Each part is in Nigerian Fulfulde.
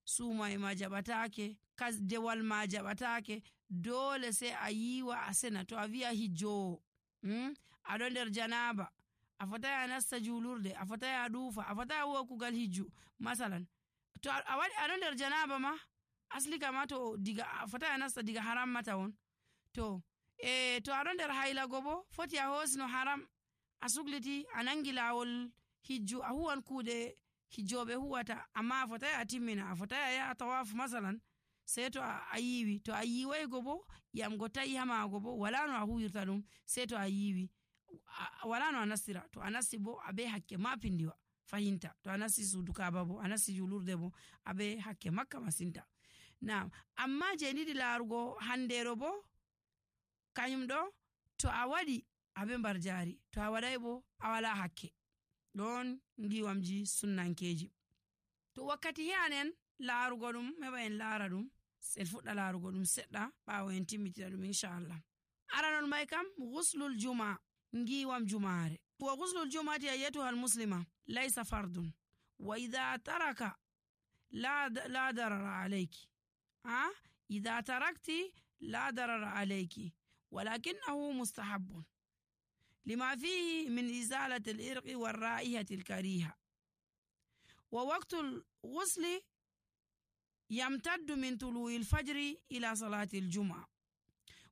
sumai ma jaɓatake, dewal ma jaɓatake, dole sai a yiwa a sena. To a wi'a hijjowo aɗo nder janaba, a fotai a nasta julurde, a fotai a ɗuufa, a fotai a huwa kugal hijju masalan. To a waɗi aɗo nder janaba ma asli kama to diga a fotai a nasta diga haram mata won. To to aɗo nder hailago bo foti a hosino haram, a sugliti a nangi lawol hijju, a huwan kuuɗe hijjoɓe huwata, amma a fotai a timmina, a fotai a yaha tawafu masalan, sai to a yiwi. To a yiwai go bo yam go ta'i ha maago bo wala no a huwirta ɗum, sai to a yiwi wala no a nastira. To a nasti bo abe hakke ma pindiwa fahinta. To a nasti suudu Kaaba bo, a nasti julurde bo abe hakke makka masinta. Amma je niɗi larugo handero bo kanyum ɗo to a waɗi abe mbar jari, to a waɗai bo a wala hakke. ɗon ngiwamji sunnankeji. To wakkati he'anen larugo ɗum heɓa en lara ɗum, en fuɗɗa larugo ɗum seɗɗa ɓawo en timmitina ɗum inchallah. Aranol mai kam ghuslul juma, ngiwam jumare. Wa ghuslul jumati ayyatuha almuslima laysa fardun wa idha taraka la darara alayki. Idha tarakti la darara alayki walakinahu mustahabbun لما فيه من إزالة الإرق والرائحة الكريهة. ووقت الغسل يمتد من طلوع الفجر إلى صلاة الجمعة،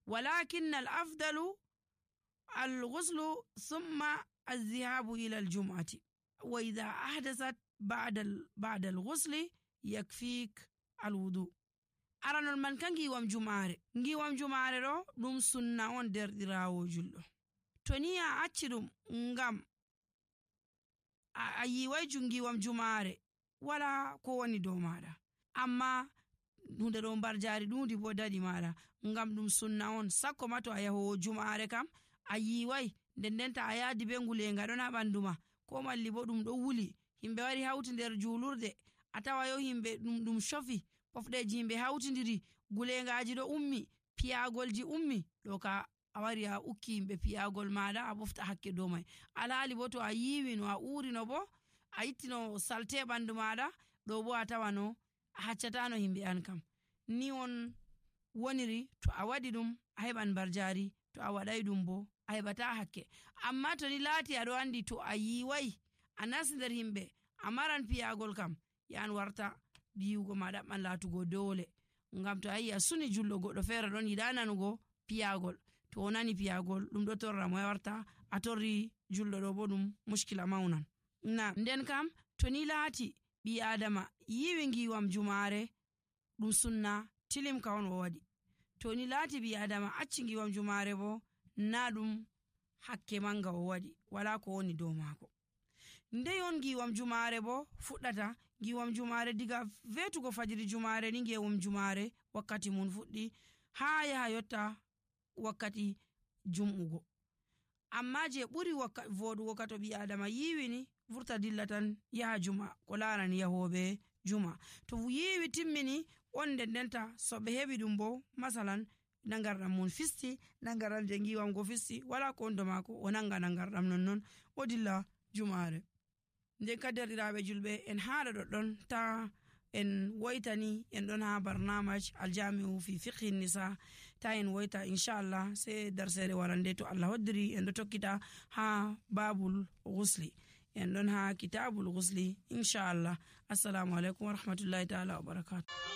ولكن الأفضل الغسل ثم الذهاب إلى الجمعة. وإذا أحدثت بعد الغسل يكفيك الوضوء. أرانول من كان نجيوام جمعة رو دم سنة on derɗirawo julɗo. To ni a acci ɗum ngam a yiwai jungiwam jumare wala ko woni dow maɗa, amma hunde ɗo mbar jari ɗundi bo daɗi maɗa ngam ɗum sunna on. Sakko ma to a yahowo jumare kam a yiwai, ndendenta a yaadi be ngulenga ɗon ha ɓandu ma, ko malli bo ɗum ɗo wuli, himɓe wari hauti nder julurde, a tawa yo himɓe ɗum shofi, pofɗeji himɓe hautidiri, gulengaji ɗo ummi, piyagolji ummi, ɗo ka a wari a ukki himɓe piyagol maɗa a ɓofta hakke dow mai. Alhali bo to a yiwi no a urino bo a ittino salte ɓandu maɗa, ɗo bo a tawano a haccatano himɓe an kam. Ni on woniri to a waɗi ɗum a heɓan mbar jari, to a waɗai ɗum bo a heɓata hakke. Amma to ni laati aɗo andi to a yiwai a nasti nder himɓe a maran piyagol kam, yan warta yiwugo ma ɗaɓɓan latugo dole. Ngam to a yi a suni julɗo goɗɗo feere ɗon yiɗa nanugo piyagol, to o nani piyagol ɗum ɗo torra mo warta a torri julɗo ɗo bo ɗum mushkila maunan. Nden kam to ni laati ɓi adama yiwi ngiwam jumare ɗum sunna tilimka on o waɗi. To ni laati ɓi adama acci ngiwam jumare bo na ɗum hakke manga o waɗi, wala ko woni dow maako. Ndey on ngiwam jumare bo fuɗɗata. Ngiwam jumare diga vetugo fajiri jumare ni ngewum jumare wakkati mun fuɗɗi ha yaha yotta wakkati jum'ugo. Amma je ɓuri voɗugo ka to ɓi adama yiwi ni vurta dilla tan yaha juma ko larani yahoɓe juma. To yiwi timmini on ndendenta so ɓe heɓi ɗum bo masalan nangarɗam mun fisti, nangarɗam je ngiwam go fisti, wala ko ondo mako o nanga nangarɗam nonnon o dilla jumare. Nden ka derɗiraɓe julɓe en haɗa ɗoɗɗon ta en woitani en ɗon ha barnamaj aljami'u fi fiqhi nisa, ta en woita inchallah sai darsere warande to Allah hoddiri en ɗo tokkita ha babul ghusli, en ɗon ha kitabul ghusli inchallah. Assalamu alaikum wa rahmatullahi ta'ala wa barakatuh.